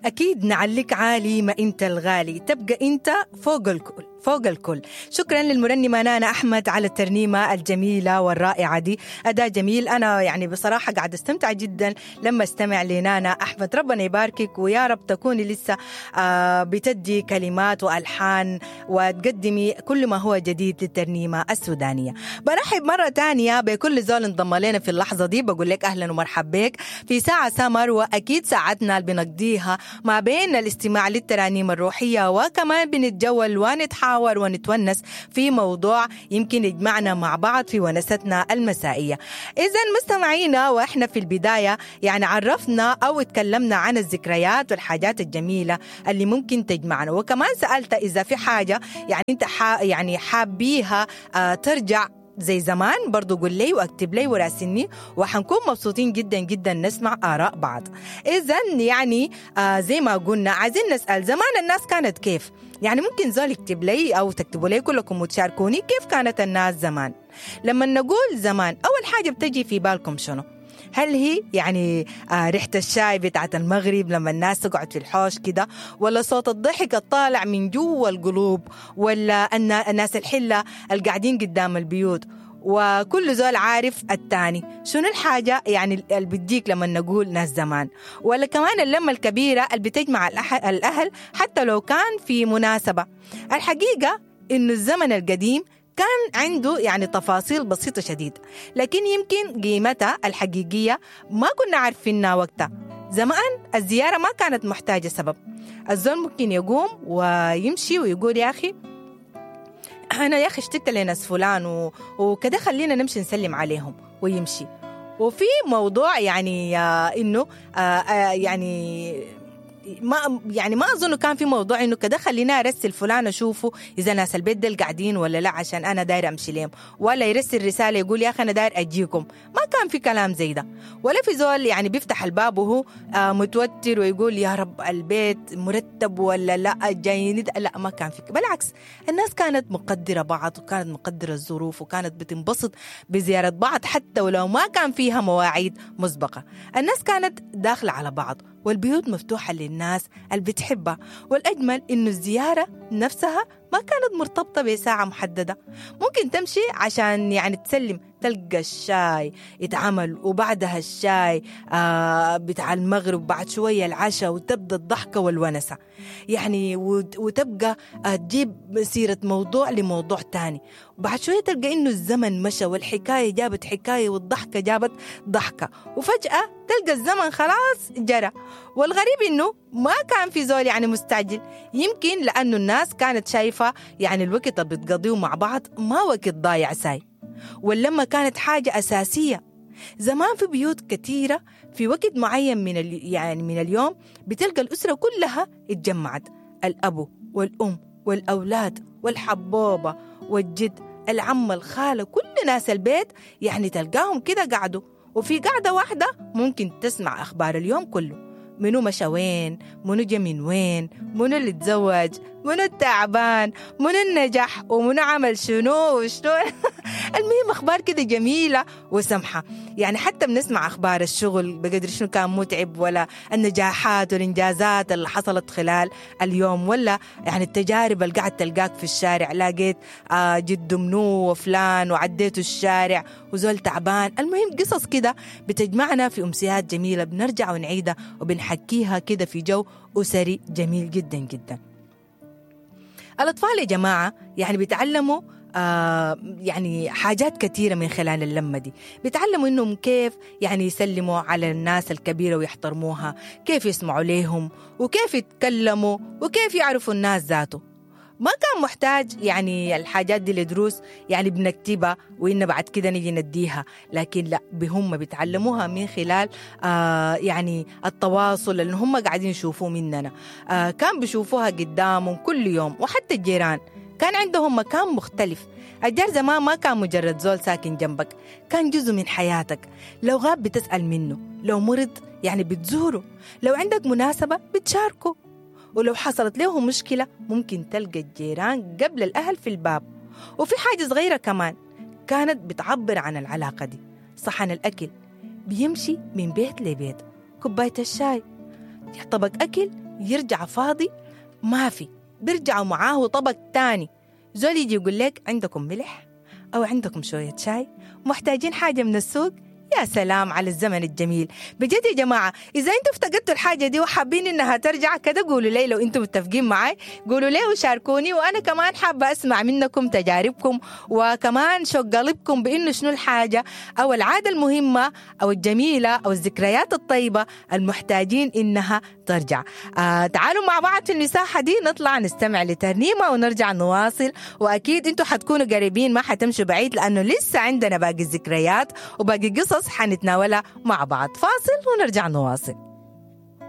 أكيد نعليك عالي ما أنت الغالي، تبقى أنت فوق الكل فوق الكل. شكرا للمرنمة نانا أحمد على الترنيمة الجميلة والرائعة دي، أداء جميل. أنا يعني بصراحة قاعد استمتع جدا لما استمع لنانا أحمد، ربنا يباركك ويا رب تكوني لسه بتدي كلمات وألحان وتقدمي كل ما هو جديد للترنيمة السودانية. برحب مرة تانية بكل زول انضم لنا في اللحظة دي، بقول لك أهلا ومرحبا بك في ساعة سمر، وأكيد ساعتنا اللي بنقضيها ما بين الاستماع للترانيم الروحية وكمان بنتجول ونتحاور ونتونس في موضوع يمكن يجمعنا مع بعض في ونستنا المسائية. إذا مستمعينا، وإحنا في البداية يعني عرفنا أو اتكلمنا عن الذكريات والحاجات الجميلة اللي ممكن تجمعنا، وكمان سألت إذا في حاجة يعني أنت يعني حابيها ترجع زي زمان، برضو قول لي واكتب لي وراسلني، وحنكون مبسوطين جدا جدا نسمع آراء بعض. إذا يعني زي ما قلنا عايزين نسأل زمان الناس كانت كيف؟ يعني ممكن زول يكتب لي أو تكتبوا لي كلكم وتشاركوني كيف كانت الناس زمان. لما نقول زمان أول حاجة بتجي في بالكم شنو؟ هل هي يعني ريحة الشاي بتاعت المغرب لما الناس تقعد في الحوش كده، ولا صوت الضحك الطالع من جوا القلوب، ولا الناس الحلة القاعدين قدام البيوت وكل زول عارف التاني؟ شنو الحاجة يعني اللي بتجيك لما نقول ناس زمان؟ ولا كمان اللمة الكبيرة اللي بتجمع الأهل حتى لو كان في مناسبة. الحقيقة إنه الزمن القديم كان عنده يعني تفاصيل بسيطة شديد، لكن يمكن قيمتها الحقيقية ما كنا عارفينها وقتها. زمان الزيارة ما كانت محتاجة سبب، الزول ممكن يقوم ويمشي ويقول يا أخي أنا يا أخي اشتقت لناس فلان وكده، خلينا نمشي نسلم عليهم ويمشي. وفي موضوع يعني إنه يعني ما أظن كان في موضوع إنه كده خلينا أرسل فلان أشوفه إذا ناس البيت ديل قاعدين ولا لا عشان أنا داير أمشي لهم، ولا يرسل رسالة يقول يا أخي أنا داير أجيكم. ما كان في كلام زي ده، ولا في زول يعني بيفتح الباب وهو متوتر ويقول يا رب البيت مرتب ولا لا جايين، لا ما كان في. بالعكس الناس كانت مقدرة بعض، وكانت مقدرة الظروف، وكانت بتنبسط بزيارة بعض حتى ولو ما كان فيها مواعيد مسبقة. الناس كانت داخلة على بعض والبيوت مفتوحة للناس اللي بتحبها. والأجمل إنه الزيارة نفسها ما كانت مرتبطة بساعة محددة، ممكن تمشي عشان يعني تسلم، تلقى الشاي يتعمل وبعدها الشاي بتاع المغرب، بعد شوية العشاء، وتبدأ الضحكة والونسة يعني، وتبقى تجيب سيرة موضوع لموضوع تاني، وبعد شوية تلقى إنه الزمن مشى والحكاية جابت حكاية والضحكة جابت ضحكة، وفجأة تلقى الزمن خلاص جرى. والغريب إنه ما كان في زول يعني مستعجل، يمكن لأنه الناس كانت شايفة يعني الوقت اللي بتقضيه مع بعض ما وقت ضايع ساي، واللمة كانت حاجة أساسية. زمان في بيوت كثيرة في وقت معين من يعني من اليوم بتلقى الأسرة كلها اتجمعت، الأب والأم والأولاد والحبوبة والجد، العم، الخالة، كل ناس البيت يعني تلقاهم كده قعدوا، وفي قعدة واحدة ممكن تسمع أخبار اليوم كله، منو مشى وين، منو جا من وين، منو اللي تزوج، منو التعبان، منو النجح، ومنو عمل شنو وشنو. المهم أخبار كده جميلة وسمحة، يعني حتى بنسمع أخبار الشغل بقدر شنو كان متعب، ولا النجاحات والإنجازات اللي حصلت خلال اليوم، ولا يعني التجارب اللي قاعد تلقاك في الشارع، لاقيت جد منو وفلان وعديته الشارع وزول تعبان. المهم قصص كده بتجمعنا في أمسيات جميلة بنرجع ونعيدها وبنحكيها كده في جو أسري جميل جدا جدا. الأطفال يا جماعة يعني بيتعلموا يعني حاجات كثيرة من خلال اللمة دي، بيتعلموا إنهم كيف يعني يسلموا على الناس الكبيرة ويحترموها، كيف يسمعوا ليهم، وكيف يتكلموا، وكيف يعرفوا الناس ذاته. ما كان محتاج يعني الحاجات دي لدروس يعني بنكتبها وإن بعد كده نيجي نديها، لكن لا، بهم بيتعلموها من خلال يعني التواصل اللي هم قاعدين يشوفوه مننا. كان بيشوفوها قدامهم كل يوم، وحتى الجيران كان عندهم مكان مختلف. الجار زمان ما كان مجرد زول ساكن جنبك، كان جزء من حياتك. لو غاب بتسأل منه، لو مرض يعني بتزوره، لو عندك مناسبة بتشاركه، ولو حصلت له مشكلة ممكن تلقى الجيران قبل الأهل في الباب. وفي حاجة صغيرة كمان كانت بتعبر عن العلاقة دي، صحن الأكل بيمشي من بيت لبيت، كوباية الشاي، طبق أكل يرجع فاضي ما في، بيرجعوا معاه طبق تاني. زول يجي يقول لك عندكم ملح أو عندكم شوية شاي، محتاجين حاجة من السوق. يا سلام على الزمن الجميل بجد يا جماعة. إذا أنتم افتقدتوا الحاجة دي وحابين إنها ترجع كده قولوا لي، لو أنتم متفقين معي قولوا لي وشاركوني، وأنا كمان حابة أسمع منكم تجاربكم وكمان شوق قلبكم بإنه شنو الحاجة أو العادة المهمة أو الجميلة أو الذكريات الطيبة المحتاجين إنها ترجع. تعالوا مع بعض في المساحة دي نطلع نستمع لترنيمة ونرجع نواصل، وأكيد أنتم حتكونوا قريبين ما حتمشوا بعيد لأنه لسه عندنا باقي الذكريات وباقي قصص حنتناولها مع بعض. فاصل ونرجع نواصل.